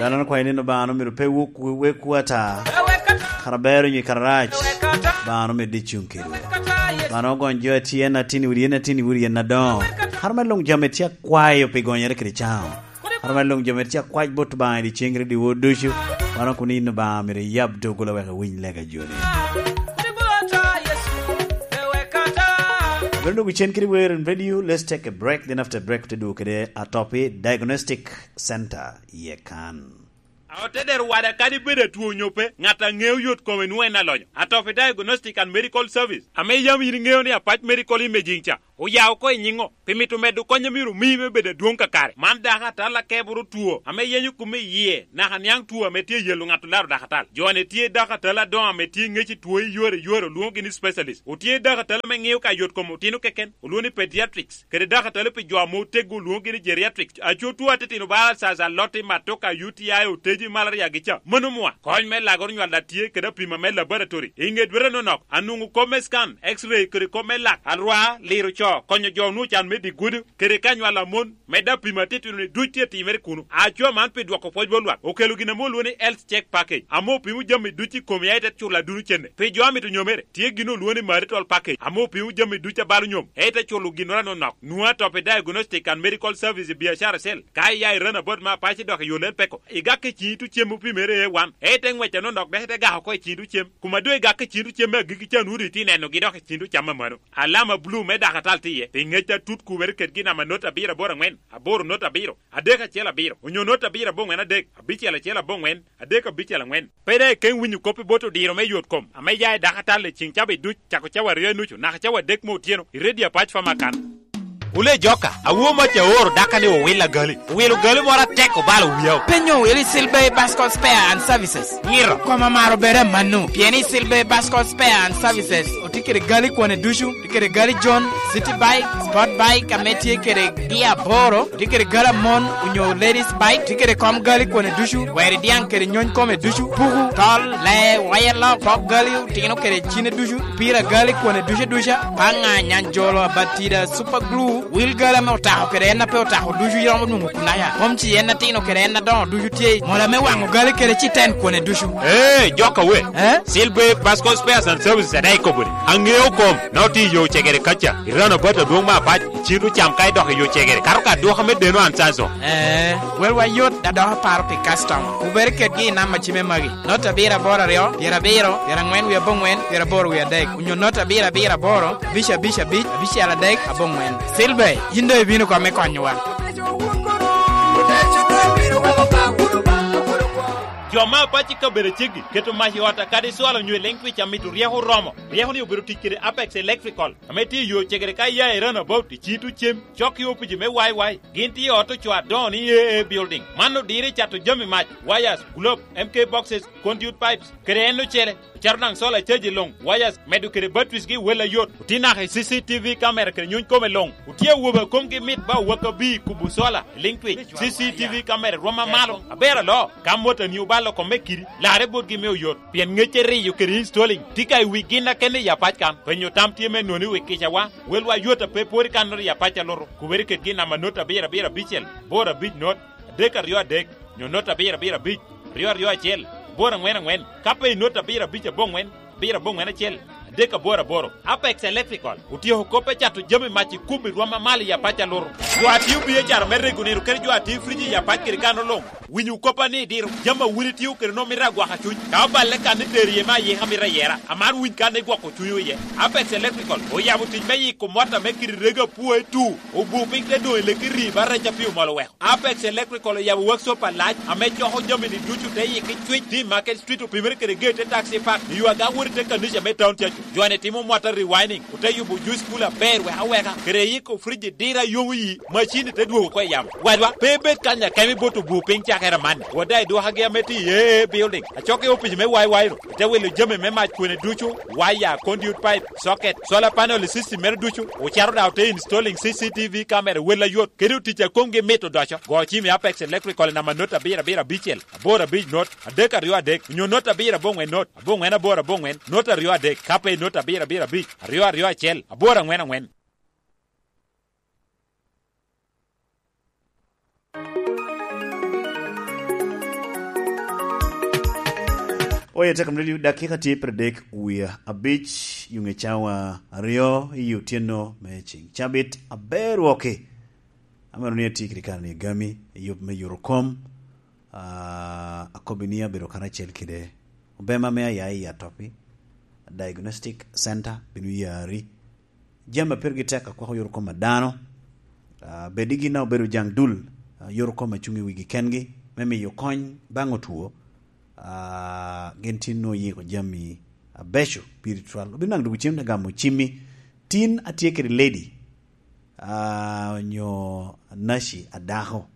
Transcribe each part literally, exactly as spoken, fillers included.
An akwayo ni Obaŋa omito pe wek, wekwu ata. Kara ber onyo kara rac, Obaŋa omito di cuŋ kedwa. Obaŋa ogony jo a tye en atin i udi, en atin i udi, en adoŋo. Kara me luŋ jo ame tye akwayo pi gonyere kede caŋo. Kara me luŋ jo ame tye akwac bot Obaŋa i dyeceŋ kede dyewor ducu. Wan okuni in Obaŋa myero iyab doggola wek awiny lega joni. Bedo dwogo cen kede wer in radio, let's take a break, then after break te dwogo kede Atopi Diagnostic Center iye kan. Aotedero wada kadi bed atwo onyo pe, ŋat a ŋeo yot kome nwoŋo en alonyo. Atopi Diagnostic and Medical Service, ame yam yin iŋeo ni Apac Medical Imaging ca, oya oko i nyiŋo? Pi mito medo kony a myero omii me bedo adwoŋ kakare. Man dako atal akeboro two ame yenyo kome i yie, naka niaŋ two ame tye yelo ŋat olaro dako atal. Jo-ni tye dako atal adoŋo ame tye ŋec i two i yore i yore, olwoŋogi ni specialist. Otye dako atal ame ŋeo ka yot kom otino keken, olwoŋo ni pediatrics. Kede dako atal pi jo ame oteggo, olwoŋogi ni geriatrics. Aco two atitino bala caca, lotti, matoka, U T I, oteji, malaria gi ca. Mano mwa. Kony me lagoro nywal a tye kede apima me laboratory. I ŋe dwete nonok, anwoŋo kop me scan, X-ray, kede kop me lak, alwar, liro co, konyo jo onwoŋo can me dye gudo, kede ka nywal a mon, medde apima atitino-ni duc tye timere kuno. Aco man pi dwoko pwoc bot lwak, okelo gin ame olwoŋo ni Health Check Package, ame opimo jami duc i komi, a ite culo aduno cene. Pi jo a mito nyomere, tye gin olwoŋo ni Marital Package, ame opimo jami duc a balo nyom, a ite culo ginnoro anonok. Nwoŋo Atopi Diagnostic and Medical Service i biacara acel. Ka iya i Ranabot me Apac idok i yo Lel Peko, igak i ciŋ itu cem opimere A one, a ite ŋwec anonok dok ite gak oko i ciŋ itu cem. Kuma doŋ igak i ciŋ itu cem me agikki ca, nwoŋo doŋ itye nenogi dok i ciŋ itu cam amano. Alama bulu me dako atal tye iye, pi ŋec atut kubere kedgi namba not abiro aboro aŋwen, aboro not abiro, adek acel abiro, onyo not abiro aboŋwen adek, abicel acel aboŋwen, adek abicel aŋwen. Pe daŋ ikeŋ winyo kop i bot odiro me yot kom ame ya i dako atal i ciŋ cawa duc, cako cawa aryo i nucu naka cawa adek me otyeno, i redio Apac Famakan. Wule joka, awo mac aoro daka ni owil agali. Owilo gali moro atek obalo wiya. Penyo wili Silver Bascot Spare and Services. Ngiro. Koma maro bere manu. Pien i Silver Bascot Spare and Services, otye kede gali kwane ducu, tye kede gali John, City Bike, Sport Bike, ame tye kede gia aboro, tye kede gali amon, onyo ladies bike, tye kede kom gali kwane ducu, weri diaŋ kede nyony kome ducu, puku, tol, lee, waya lok, pok gali, otino kede cine ducu, pira gali kwane ducu aduca, paŋa, nyanjolo, abatida, super glue, wil gali ame otako kede en a pe otako ducu iromo nwoŋo kunaya. Mom ci en atino kede en adoŋo ducu tye i mola me waŋo gali kede citen kwane ducu. Ee, joka we. Eh? Silver Pascal Spares and Services adaŋ ikobo ni, aŋeo kom, na otye i yo cegere kaca, i Ranabot adwoŋ me Apac, i cin ocam ka idok i yo cegere, kato ka dwoka me deno an canso. Ee, welwa yot, da dok aparo pi customer. Wubed kedgi i namba cime magi. Not abiro aboro aryo, pyerabiro, pyeraŋwen wie aboŋwen, pyeraboro wie adek, onyo not abiro abiro aboro, abic abic abic, abicel adek, aboŋwen. Silver, yin doŋ ibino kome konyowa. Jo me Apac i kabedo aceggi keto mac i ot a kadi cwalo onyo i leŋ twic a mito ryeko oromo. Ryeko-ni obedo tic kede Apex Electrical, ame tye i yo cegere ka iya i Roundabout, i cito cem, cok i opici me Y Y. Gin tye i ot ocoo adoŋo ni A A Building. Man odiro i cato jami mac, wires, globe, M K boxes, conduit pipes, kede en ocele. Ocato daŋ solar caji luŋ, wires, medo kede batteries gi wel ayot. Otye naka i C C T V camera kede nyuny kome luŋ. Otye awobe a komgi mit ba owak abir kubo solar, liŋ twic, C C T V camera rwom amalo. Aber alo, ka motani obalo kome kidi, larre botgi me oyot. Pien ŋecce riyo kede installing tye ka i wi gin a kene i Apac kan. Penyo tam tye me noni wi kicawa, welwa yot a pe pwod i kannoro i Apac a luto. Kubere kedgi i namba not abiro abiro abicel, bor abic not, adek aryo adek, nyo not abiro abiro abic, aryo aryo acel, bor aŋwen aŋwen, ka pe i not abiro abic aboŋwen, abiro aboŋwen acel, adek aboro aboro. Apex Electrical otyeko kop me cato jami mac i kubo i rwom amalo i Apac a luto. Jo a tio biacara me rego nino kede jo a tio frij i Apac kede kan oloŋ. Winyo koppa ni diro, jami a wun itio kede nwoŋo mito agwoko cuny. Ka oballe kan itero iye me ayika mito ayera, amaro winy kan igwoko cunywu iye. Apex Electrical oyabo tic me yiko mot ame kite rego apwoe tu, obu piny te doŋ i leki rii ba rec a pi omol oweko. Apex Electrical oyabo workshop alac ame coko jami-ni ducu te yiki cwic, tye i Market Street, opimere kede gate te Taxi Park, i yo aga wot i te kanica me town cacu. Jo-ni timo mota rewinding, ote yubo juice cooler aber wek aweka, kede yiko frij i diro a yomo yi, macin-ni te dwogo oko i yamo. Wadwa, pe ibed kany akemo ibot obu piny cakere amanni. Wot daŋ i dwokagi ame tye i A A Building, acok i opic me Y Y ru, ite wilo jami me mac kwene ducu, waya, conduit pipe, socket, solar panel i system mere ducu, ocato daŋ ote installing C C T V camera wel ayot, kede otic a komgi mit odoco. Go cim i Apex Electrical i namba not abiro abiro abicel, aboro abic not, adek aryo adek, onyo not abiro aboŋwen not, aboŋwen aboro aboŋwen, not aryo adek, ka pe i not abiro abiro abic, aryo aryo acel, aboro aŋwen aŋwen. Oye, Tekam Radio, dakika tye pire dek wie abic, yuŋe cawa aryo i otyeno me ceŋ cabit aber wok-ki. Amito ni atye kede kare-ni agami i yub me yuto kom. Ah, akobbi ni abedo karacel kede obema me aya i Atopi Diagnostic Center, bino yari. Jami a pirgi tek akwako yot kom a dano, ah, bed i gin a obedo jaŋ dul, ah, yot kom a cuŋ i wigi kengi me miyo kony baŋ otwo, ah, gin tin nwoŋo yiko jami abeco spiritual. Obino naŋ dwogo cim te gamo cimmi. Tin atye kede lady, ah, onyo naci a dako.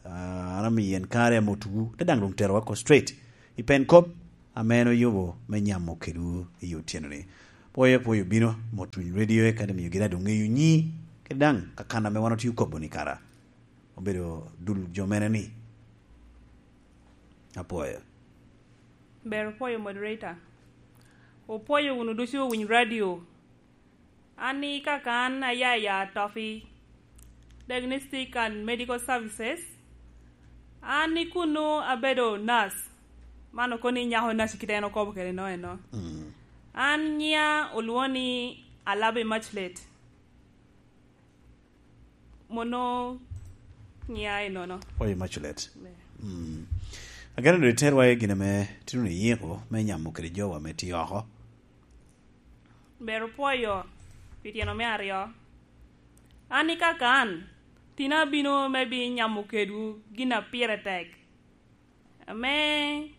Ah, an amiyo en kare ame otugu, te daŋ doŋ terowa oko straight i pen kop ame en oyubo me nyamo kedwu i otyeno-ni. Pwoyo, pwoyo bino, mot winy radio, eka te miyo gin a doŋ ŋeyo nyi, kede daŋ kakan ame wan otye okobo-ni kara. Obedo dul jo mene-ni. Apwoyo. Ber opwoyo, moderator. Opwoyo wunu ducu owiny radio. An i kaka an aya i Atopi Diagnostic and Medical Services. An i kunnu abedo nurse. Man okono ni nyako nurse kite en okobo kede no eno. Mm. An nyiŋa olwoŋo ni Alabi Immaculate. Mono nyiŋa enono. Oye Immaculate. Be. Mm. Ageno doŋ iterwa i gin ame tino ni yiko me nyamo kede jowa me tye oko. Ber opwoyo pi tyeno me aryo. An i kaka an, tin abino me bi nyamo kedwu gin a pire tek. Ame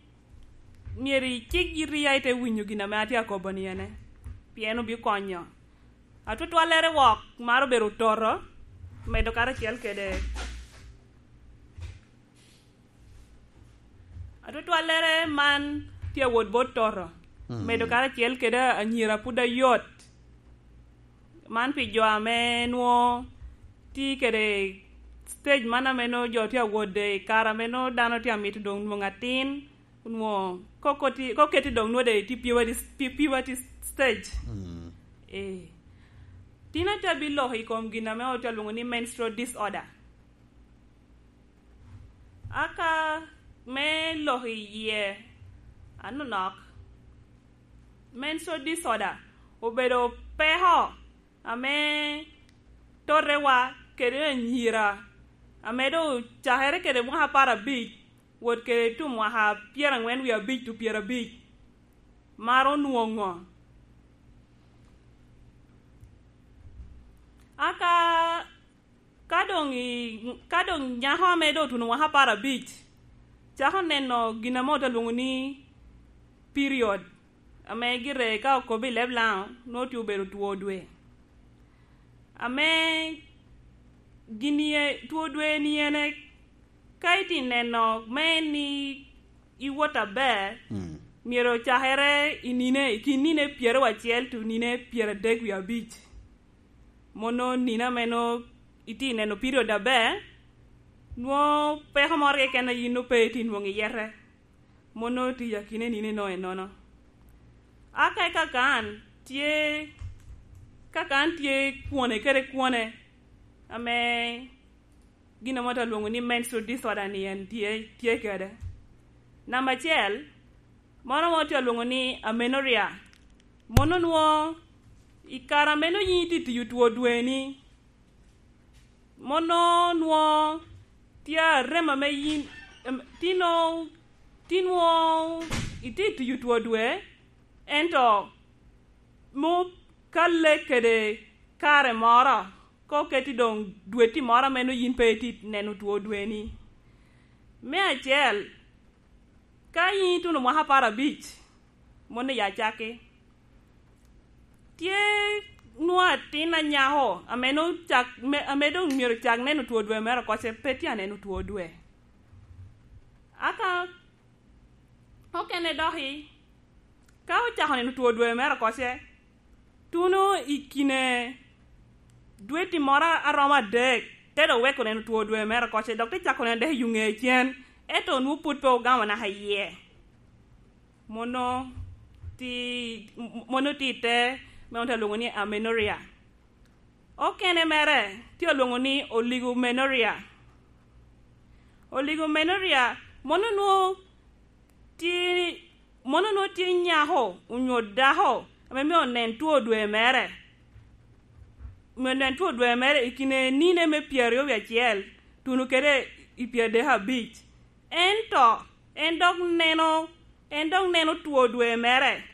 myero icik yiti ya ite winyo gin ame atye akobo ni ene, pien obikonyo. Atwatwallere wok maro bedo ototo, medo karacel kede. Atwatwallere man tye awot bot toto, mm, medo karacel kede anyira pud ayot. Man pi jo ame nwo tye kede stage man ame nwo jo tye awot de i kare ame nwo dano tye amito doŋ nwoŋo atin, nwo ko koti-, ko keti doŋ nwo de tye puberty, pu-, puberty stage. Mm. Eh. Tin atye abiloko i kom gin ame otye alwoŋo ni menstrual disorder. Aka me lok i yie anonok, menstrual disorder obedo peko ame totewa kede anyira ame doŋ ocakere kede mwaka apar abic, wot kede tu mwaka pyeraŋwen wie abic tu pyerabic, maro nwoŋo. Aka Ka doŋ i-, ka doŋ nyako ame doŋ otuno mwaka apar abic, cako neno gin ame ote lwoŋo ni period, ame gire ka okobo i leb Laŋo, nwoŋo tye obedo two dwe. Ame gin ye, two dwe ni ene, ka itye neno me ni iwot aber, mm, myero ocakere i nine, i kin nine pyeraryo acel to nine pyeradek wie abic. Mono nino ame nwoŋo itye neno period aber, nwoŋo peko moro keken a yin nwoŋo pe itye nwoŋo iyete. Mono tye i akine nino enono. Aka i kakan tye, kakan tye kwone kede kwone ame gin ame otye alwoŋo ni menstrual disorder ni en tye, tye kede. Namba acel, moro ame otye alwoŋo ni amenorrhea. Mono nwoŋo i kare ame nwoŋo yin itye tiyo two dweni, mono nwoŋo tye arem ame yin, em, tino, ti nwoŋo itye tiyo two dwe, ento mo kalle kede kare moro, ko keti doŋ dweti moro ame nwoŋo yin pe itye neno two dweni. Me acel, ka yin ituno mwaka apar abic, moni ya cakki. Tye nwoŋo atin anyako ame nwoŋo cak, me, ame doŋ myero cak neno two dwe mere okoce, pe tye aneno two dwe. Aka okene doki, ka ocako neno two dwe mere okoce, tuno i kine dweti moro a romo adek, te dok weko neno two dwe mere okoce, dok te cako neno dek i yo ŋe cen, ento nwoŋo pwod pe ogamo naka iye. Mono ti-, mono tye i te me onte alwoŋo ni amenorrhea. Okene mere tye alwoŋo ni oligomenorrhea. Oligomenorrhea, mono nwoŋo tye, Mono onwoŋo tye nyako onyo dako ame myero onen two dwe mere, myero onen two dwe mere i kine nine me pyeraryo wie acel tuno kede i pyeradek abic. Ento en dok neno, en dok neno two dwe mere,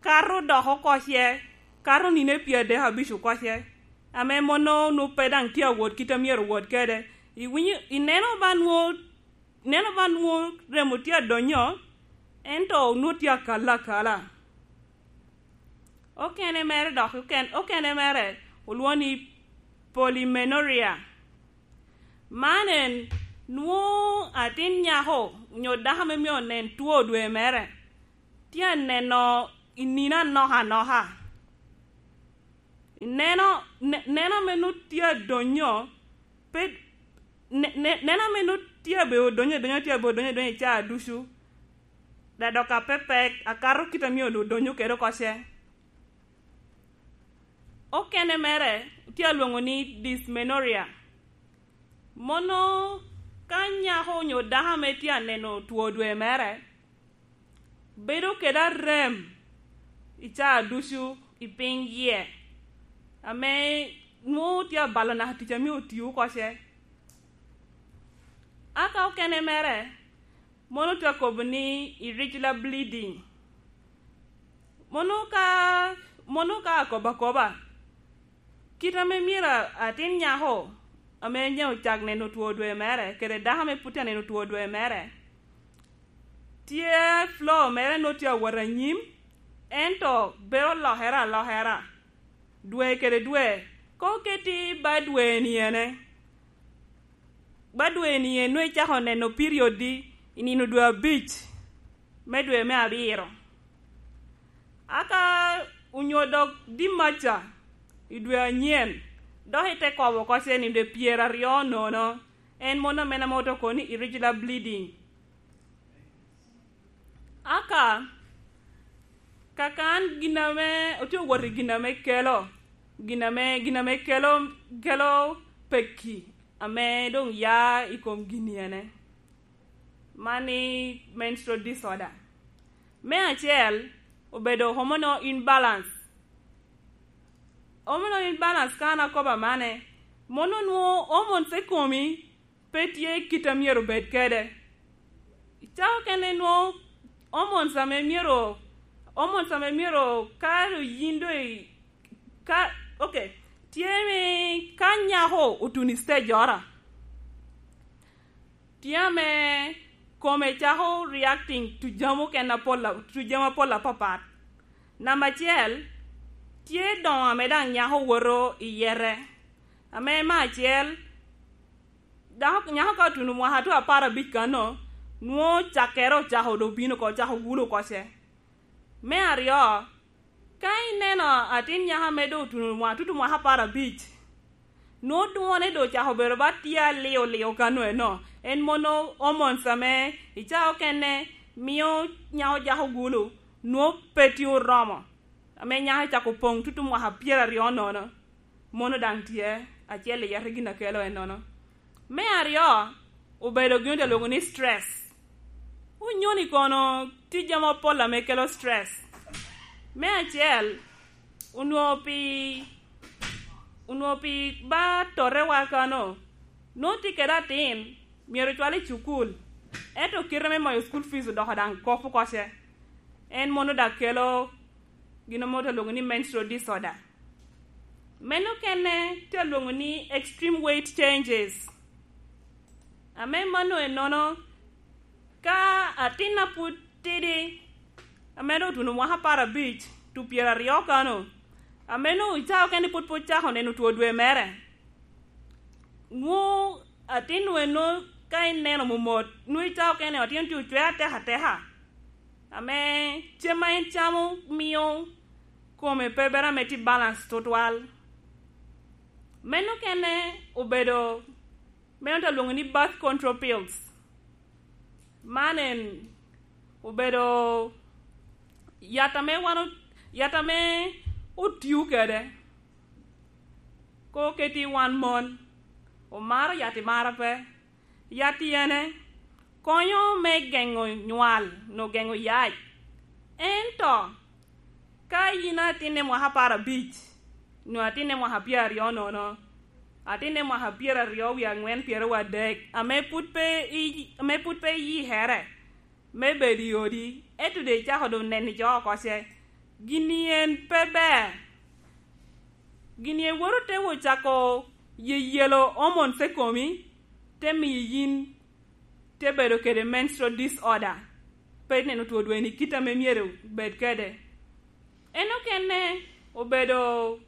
kato dok oko ce, kato nine pyeradek abic oko ce, ame mono onwoŋo pe daŋ tye awot kit a myero owot kede. Iwinyo, ineno ba nwoŋo, ineno ba nwoŋo remo tye adonyo, ento onwoŋo tye akalo akala. Okene mere dok, oken-, okene mere olwoŋo ni polymenorrhea. Man en nwoŋo atin nyako onyo dako ame myero onen two dwe mere, tye aneno i nino anok anoka. Ineno, ne-, neno ame nwoŋo tye adonyo, pe, ne-, ne-, neno ame nwoŋo tye abedo odonyo, odonyo, tye abedo odonyo, odonyo i caa ducu, da dok apepek, akato kit a myero odonyo kede oko ce. Okene mere tye alwoŋo ni dysmenorrhea. Mono ka nyako onyo dako ame tye aneno two dwe mere, bedo kede arem i caa ducu i piny yie, ame nwoŋo tye abalo naka tic a myero otio oko ce. Aka okene mere, mono tye akobo ni irregular bleeding. Mono ka, mono ka akobo akoba, kit ame myero a-, atin nyako ame nyeo ocak neno two dwe mere, kede dako ame pwod tye aneno two dwe mere, tye flow mere nwoŋo tye awot anyim, ento bedo lokere alokera dwe kede dwe. Koŋ oketi ba dwe-ni ene, ba dwe-ni ene nwoŋo icako neno period-di i nino dwe abic me dwe me abiro. Aka onyo dok dimaca i dwe anyen, dok ite kobo oko ce ni dwe pyeraryo nono, en mono ame ame oto kono ni irregular bleeding. Aka, kakan gin ame, otye owot i gin ame kelo, gin ame, gin ame kelo, kelo pekki ame doŋ ya i kom gin ene. Man ni menstrual disorder. Me acel, obedo hormonal imbalance. Hormonal imbalance ka an akobo amane, mono nwoŋo hormones i komi pe tye kit a myero obed kede. Cawa okene nwoŋo hormones ame myero, hormones ame myero ka yin doŋ i-, ka, ok, tye ni ka nyako otuno i stage ora, tye ame kome cako reacting to jami okene apol a-, to jami apol apapat. Namba acel, tye doŋo ame daŋ nyako woto i yete, ame me acel, dako, nyako ka otuno mwaka tye apar abic kano, nwoŋo cakkere ocako doŋ bino oko, ocako gulo oko ce. Me aryo, ka ineno atin nyako ame doŋ otuno mwaka, tutu mwaka apar abic, nwoŋo dwone doŋ ocako bedo ba tye aliyo liyo kano eno. En mono hormones ame i caa okene mio nyako jako gulo, nwoŋo pe tye oromo, ame nyako ecako poŋ tutu mwaka pyeraryo nono. Mono daŋ tye acel i yete gin a kelo ennono. Me aryo, obedo gin ote lwoŋo ni stress. Onyoni kono tye jami apol ame kelo stress. Me acel, onwoŋo pi, onwoŋo pi ba totewa kano, nwoŋo tye kede atin, myero ocwal i cukul, ento kite me mayo school fees odoko daŋ kop oko ce. En mono daŋ kelo gin ame ote lwoŋo ni menstrual disorder. Meno okene tye alwoŋo ni extreme weight changes. Ame mano ennono, ka atin a pwod tidi, ame doŋ otuno mwaka apar abic, to pyeraryo kano, ame nwoŋo i caa okene pwod pe ocako neno two dwe mere, nwoŋo atin-nu en nwoŋo ka ineno momot, nwoŋo i caa okene atin tye ocwe ateka ateka, ame cem ma en camo mio kome pe bedo ame tye balance tutwal. Meno okene obedo, meno te lwoŋo ni birth control pills. Man en obedo yat ame wan o-, yat ame otio kede. Koŋ oketi wan mon, omaro yat i mara pe. Yat i ene konyo me geŋo nywal, nyo geŋo yac. Ento ka yin atinne mwaka apar abic, nyo atinne mwaka pyeraryo nono, atinne mwaka pyeraryo wie aŋwen, pyeraryo adek, ame pud pe i-, ame pud pe iyikere me bedo i odi, ento doŋ icako doŋ neno ico oko ce, gin-ni en pe ber. Gin-ni en woto te wot cako yeyelo hormones i komi, te miyo yin te bedo kede menstrual disorder, pe neno two dweni kit ame myero bed kede. En okene obedo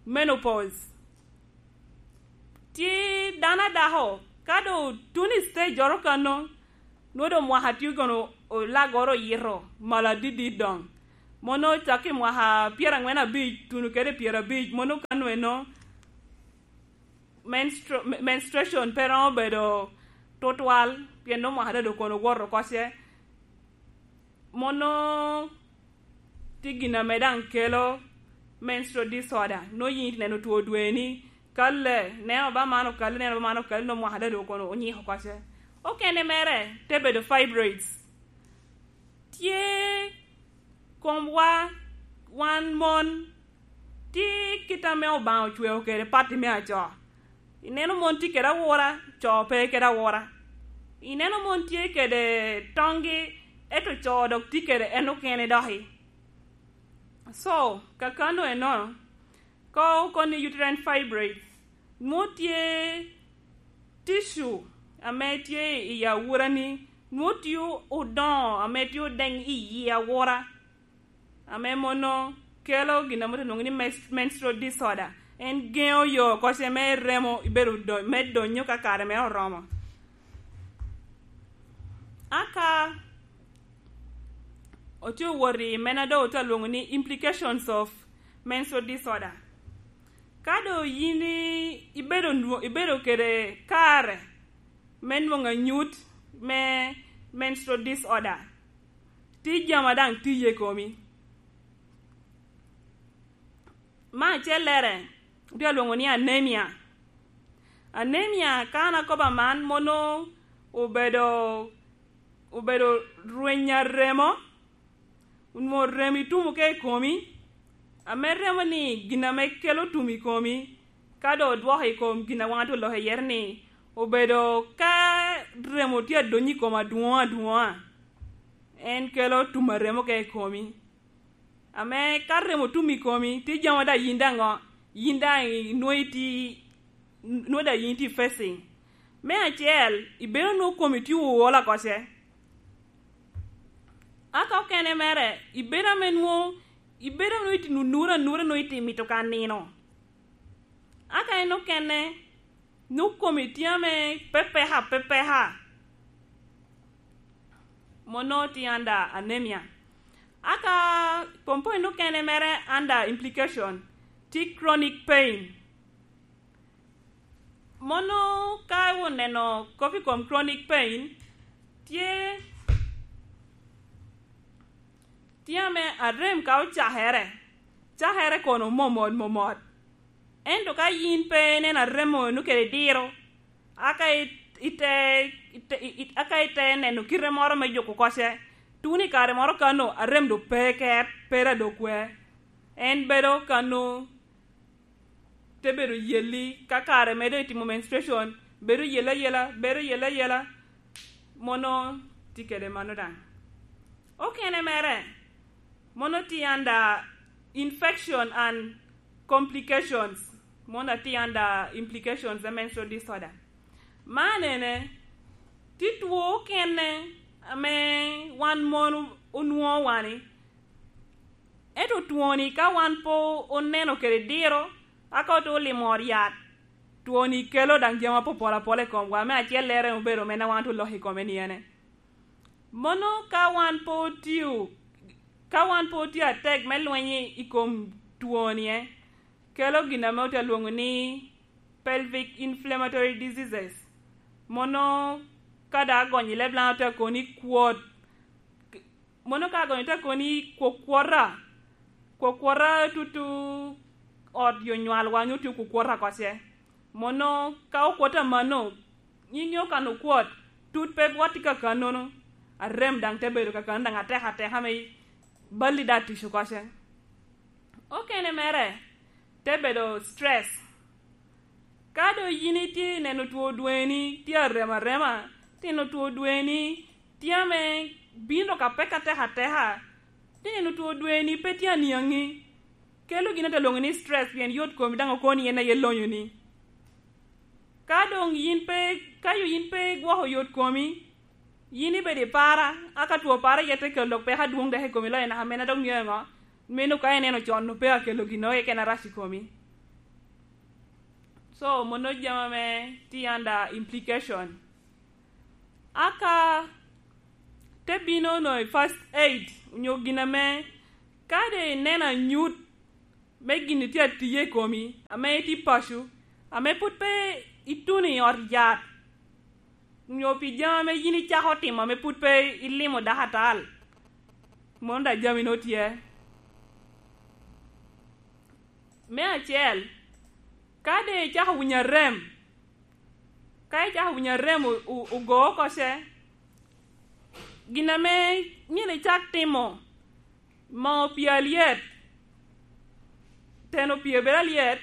menopause. Tye dano adako, ka doŋ otuno i stage oro kano, nwoŋo doŋ mwaka tye kono olagoro oyito malo adidit doŋ. Mono cako i mwaka pyeraŋwen abic, tuno kede pyerabic, mono kano eno menstru-, me-, menstruation pe romo bedo tutwal, pien nwoŋo mwaka dado kono owoto oko ce. Mono tye gin ame daŋ kelo menstrual disorder. Nwoŋo yin ite neno two dweni, kalle, neno ba man okalle, neno ba man okalle, nwoŋo mwaka dado kono onyiko oko ce. Okene mere te bedo fibroids. Tye komwa, wan mon, tye kit ame Obaŋa ocweo kede pati me aco. Ineno mon tye kede awura, co pe kede awura. Ineno mon tye kede toŋgi, ento co dok tye kede en okene doki. So, kakano eno, ka okoni uterine fibroids, nwoŋo tye tissue ame tye i awurani, nwoŋo tye odoŋo ame tye odeŋ i yi awura, ame mono kelo gin ame otye lwoŋo ni mes-, menstrual disorder. En geŋo yo oko ce me remo ibedo do-, me donyo ka kare mere oromo. Aka otye owot i mene a doŋ otye alwoŋo ni implications of menstrual disorder. Ka doŋ yin i-, ibedo nwo-, ibedo kede kare me nwoŋo anyut me menstrual disorder, tye jami a daŋ tiye i komi. Me acellere, otye alwoŋo ni anemia. Anemia, ka an akobo aman, mono obedo, obedo rweny a remo, onwoŋo remo itumo ka i komi, ame remo-ni gin ame kelo tum i komi, ka doŋ odwoko i kom gin a wan otye oloko iye ni, obedo ka remo tye adonyo i kom adwoŋ adwoŋa, en kelo tum a remo ka i komi. Ame ka remo tum i komi, tye jami daŋ yin daŋ ŋo? Yin daŋ inwoŋo itye, nwoŋo daŋ yin itye facing. Me acel, ibedo nwoŋo komi tye ool oko ce. Aka okene mere, ibedo ame nwoŋo, ibedo nwoŋo itye nunura nura, nwoŋo itye mito ka nino. Aka en okene, nwoŋo komi tye ame pepeka pepeka. Mono tye under anemia. Aka pomponi okene mere under implication, tye chronic pain. Mono ka oneno kop i kom chronic pain, tye, tye ame arem ka ocakere, cakere kono momot momot. Ento ka yin pe ineno aremo-nu kede diro, aka i-, ite, ite, i-, i-, aka ite neno kite moro me juko oko ce, tuno i kare moro kano arem doŋ pe ket, pe ra doŋ kwe. En bedo kano te bedo yelli, ka kare medo itimo menstruation, bedo yel ayela, bedo yel ayela, mono tye kede mano daŋ. Okene mere, mono tye under infection and complications, mono tye under implications a menstrual disorder. Man ene, tye two okene ame wan mon onwoŋo wani, ento twoni ka wan pe oneno kede diro, aka ote olimo ot yat, twoni kelo daŋ jami apopol apola i komwa, me acellere obedo mene wan te oloko i kome ni ene. Mono ka wan pe otio, ka wan pe otio atek me lweny i kom twoni, eh, kelo gin ame otye alwoŋo ni pelvic inflammatory diseases. Mono ka daŋ agonyo i leb Laŋo te koni kwot, mono ka agonyo te koni kwokwota, kwokwota tutu ot yo nywalwa nyo tye kwokwota oko ce. Mono ka okwot amanno, yin iŋeo kan okwot, tut pe bwot i kakannono, arem daŋ te bedo kakanno daŋ atek ateka me, balli daŋ tic okoce. Okene mere, te bedo stress. Ka doŋ yin itye neno two dweni tye arem arema, tye neno two dweni tye ame bino ka peke atek ateka, tye neno two dweni pe tye aniaŋi, kelo gin ate lwoŋo ni stress, pien yot komi daŋ okoni en aye lonyoni. Ka doŋ yin pe, ka yo yin pe igwoko yot komi, yin ibedo i para, aka two para aye te kelo dok peko adwoŋ dok i komi, loyo naka mene dok ŋeo ŋo, meno ka ineno con, pe akelo gin oko keken arac i komi. So, mono jami ame tye under implication. Aka te bino no i first aid, onyo gin ame, ka de ineno anyut me gin tye atiye i komi, ame itye paco, ame pwod pe ituno i ot yat, onyo pi jami ame yin icako timo ame pwod pe ilimo dakatal, mono daŋ jami no tye. Me acel, ka de icako winyo arem, ka icako winyo arem o-, o-, ogo oko ce, gin ame myero icak timo, moo pii alyet, teno pii bedo alyet,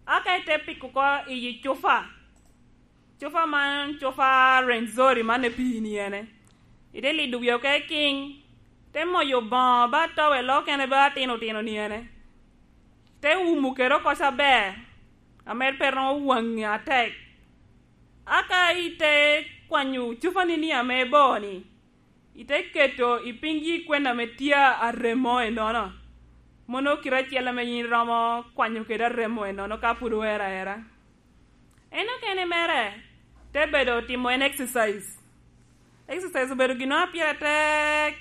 aka ite piko oko i cupa. Cupa man, cupa Rwenzori man, epii ni ene. Ite lido wie oko i king, te moyo boŋo ba towel okene ba atino tino ni ene. Te umo kede oko ca aber, ame pe romo waŋe atek. Aka ite kwanyo cupa ni ni ame bor ni, ite keto i piny yi kwena ame tye aremo enono. Mono kite acel ame yin iromo kwanyo kede aremo enono ka pwod oero aera. En okene mere te bedo timo en exercise. Exercise obedo gin a pire tek,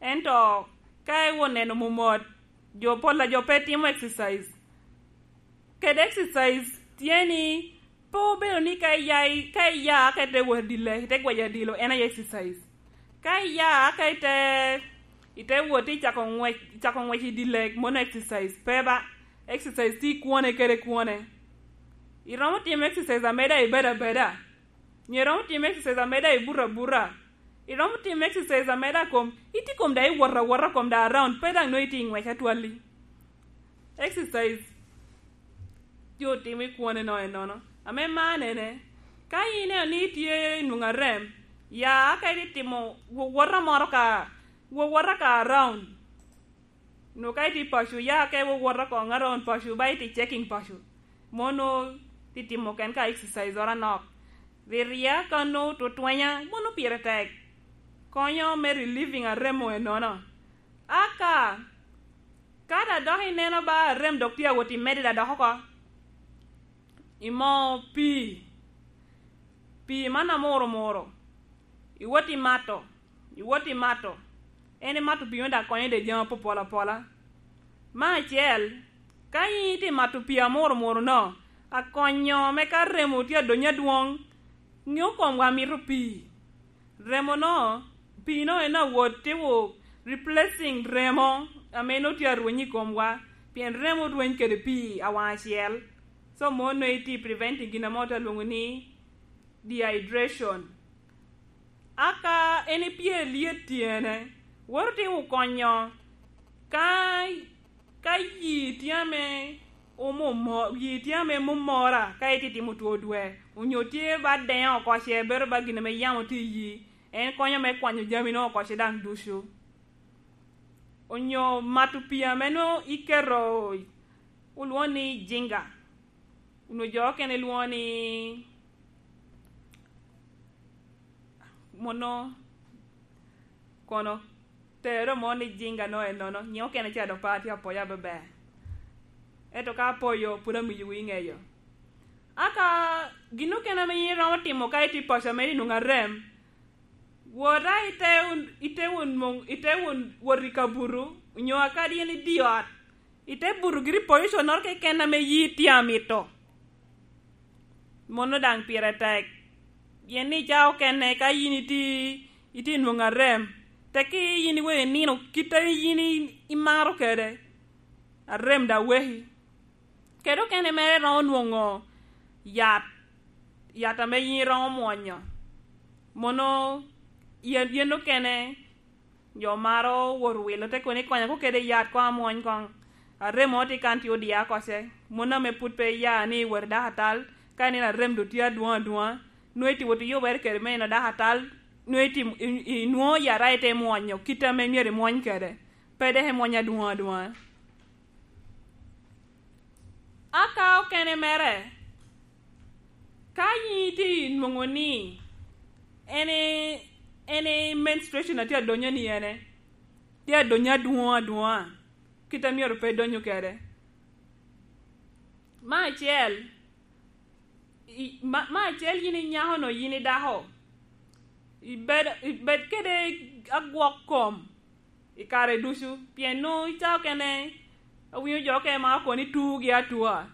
ento ka iwo neno momot, jo pol a jo pe timo exercise. Kede exercise tye ni pe obedo ni ka iya, ka iya ka ite wot adile, ite gweco adilo, en aye exercise. Ka iya ka ite, ite wot icako ngwec, icako ngwec i dye lek, mono exercise pe ba. Exercise tye i kwone kede kwone. Iromo timo exercise ameda ibedo abeda. Nyo iromo timo exercise ameda ibuto abuta. Iromo timo exercise ameda kom, itye kom daŋ iwot awota kom daŋ around, pe daŋ nongo itye i ngwec atwalli. Exercise jo timo i kwone no enono. Ame man ene, ka ineno ni itye i nwoŋo arem, ya ka itye timo wowota moro ka, wowota ka around. Nwoŋo ka itye i paco, ya ka iwowota koŋ around paco, ba itye checking paco. Mono tye timo ken ka exercise oro anok. Ri ria ka nwoŋo tutwenya, mono pire tek. Konyo me relieving aremo enono. Aka, ka da dok ineno ba arem dok tye awot i medde da dok oko, imo pii, pii man amuro muro, iwot i mato, iwot i mato, en imato pii me da konyo de jami apopol apola. Me acel, ka in itye mato pii amuro muro no, akonyo me ka remo tye adonyo adwoŋ, ŋeo komwa mito pii. Remo no, pii no en awot tye wo replacing remo ame nongo tye arweny i komwa, pien remo rweny kede pii awaŋ acel. So, mo nongo itye preventing gin ame otye alwoŋo ni dehydration. Aka en ipye lyet tyene, woro tye wo konyo ka Ka yi tye ame omumo-, yi tye ame mumora, ka itye timo two dwe, onyo tye ba deŋo oko ce, bedo ba gin ame yamo tye i yi, en konyo me kwanyo jami no oko ce daŋ ducu. Onyo mato pii ame nwoŋo iketo, olwoŋo ni jinga, onyo jo okene lwoŋo ni mono kono tero mo ni jinga no ennono, nyiŋ okene ca dok pe atye apoyo abeber. Ento ka apoyo, pwod amiyo wi ŋeyo. Aka gin okene ame yin iromo timo ka itye i paco ame inwoŋo arem, wot a ite wun-, ite wun moŋ-, ite wun wot i kabuto, onyo akadi en idi ot, ite buto giri i position-noro keken ame yi tye amito. Mono daŋ pire tek. Pien ni ca okene ka yin itye, itye nwoŋo arem, tekki yin iweko inino kit a yin i-, imaro kede, arem daŋ weki. Kede okene mere iromo nwoŋo yat, yat ame yin iromo mwonyo. Mono yen, yen okene Jo maro wot wilo te kono ikonya ko kede yat koŋ amwony koŋ. Aremo tye kan tye odia koce. Mon ame pud pe iya ni wot idako atal, ka ineno arem do tye adwoŋ adwoŋa, nwoŋo iti wot iyubere kede me ino dako atal, nwoŋo iti, i-, i-, inwoŋo yat a ite mwonyo kit ame myero imwony kede. Pe dok imwony adwoŋ adwoŋa. Aka okene mere, ka yin itye nwoŋo ni en i, en i menstruation a tye adonyo ni ene, tye adonyo adwoŋ adwoŋa, kit a myero pe idonyo kede. Me acel, i-, ma, me acel yin inyako no, yin idako, ibed, ibed kede agwok kom i kare ducu, pien nwoŋo i cawa okene awinyo jo okene ma okoni tugi atua,